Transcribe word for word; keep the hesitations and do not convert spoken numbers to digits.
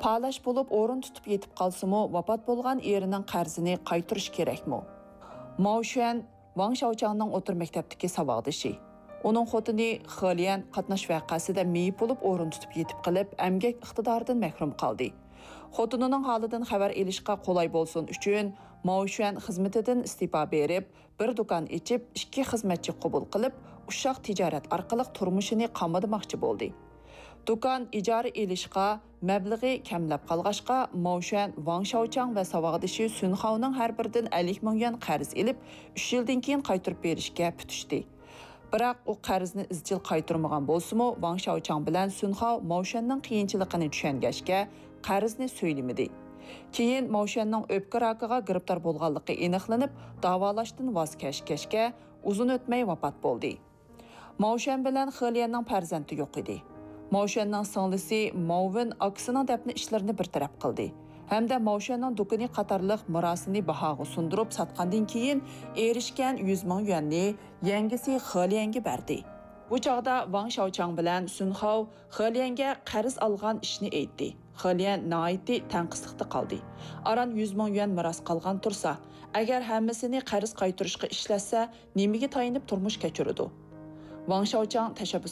پالەچ بولۇپ ئورۇن تۇتۇپ يېتىپ قالسىمۇ، ۋاپات بولغان ئېرىنىڭ قەرزىنى قايتۇرۇش كېرەكمۇ؟ ماۋ شۈەن ۋاڭ شياۋچاڭنىڭ ئوتتۇرا مەكتەپتىكى ساۋاقدىشى. ئۇنىڭ خوتۇنى خېليەن قاتناش ۋەقەسىدە مېيىپ بولۇپ ئورۇن تۇتۇپ يېتىپ قېلىپ، ئەمگەك ئىقتىدارىدىن مەھرۇم قالدى. خوتۇنىنىڭ ھالىدىن خەۋەر ئېلىشقا قولاي بولسۇن ئۈچۈن، ماۋ شۈەن خىزمىتىدىن ئىستېپا بېرىپ، بىر دۇكان ئېچىپ، ئىككى خىزمەتچى قوبۇل قىلىپ، ئۇششاق تىجارەت ئارقىلىق تۇرمۇشىنى قامىدىماقچى بولدى. دۇكان ئىجارە ئېلىشقا مەبلىغى كەملەپ قالغاچقا، ماۋ شۈەن ۋاڭ شياۋچاڭ ۋە ساۋاقدىشى سۈن خاۋنىڭ ھەر بىرىدىن ئەللىك مىڭ يۈەن قەرز ئېلىپ، ئۈچ يىلدىن كېيىن قايتۇرۇپ بېرىشكە پۈتۈشتى. بىراق ئۇ قەرزنى ئىزچىل قايتۇرمىغان بولسىمۇ، ۋاڭ شياۋچاڭ بىلەن سۈن خاۋ ماۋ شۈەننىڭ قىيىنچىلىقىنى چۈشەنگەچكە، قەرزنى سۆيلىمىدى. كېيىن ماۋ شۈەننىڭ ئۆپكە راكىغا گىرىپتار بولغانلىقى ئېنىقلىنىپ، داۋالاشتىن ۋاز كەچكەچكە، ئۇزۇن ئۆتمەي ۋاپات بولدى. ماۋ شۈەن بىلەن خېليەننىڭ پەرزەنتى يوق ئىدى. ماۋ شۈەننىڭ سىڭلىسى ماۋ ۋېن ئاكىسىنىڭ دەپنە ئىشلىرىنى بىر تەرەپ قىلدى ھەمدە ماۋ شۈەننىڭ دۇكىنى قاتارلىق مىراسىنى باھاغا سۇندۇرۇپ ساتقاندىن كېيىن، ئېرىشكەن يۈز مىڭ يۈەننى يەڭگىسى خېليەنگە بەردى. بۇ چاغدا ۋاڭ شياۋچاڭ بىلەن سۈن خاۋ خېليەنگە قەرز ئالغان ئىشنى ئېيتتى. خېليەن ناھايىتى تەڭقىسلىقتا قالدى. ئاران يۈز مىڭ يۈەن مىراس قالغان تۇرسا، ئەگەر ھەممىسىنى قەرز قايتۇرۇشقا ئىشلەتسە، نېمىگە تايىنىپ تۇرمۇش كەچۈرىدۇ؟ ۋاڭ شياۋچاڭ تەشەببۇس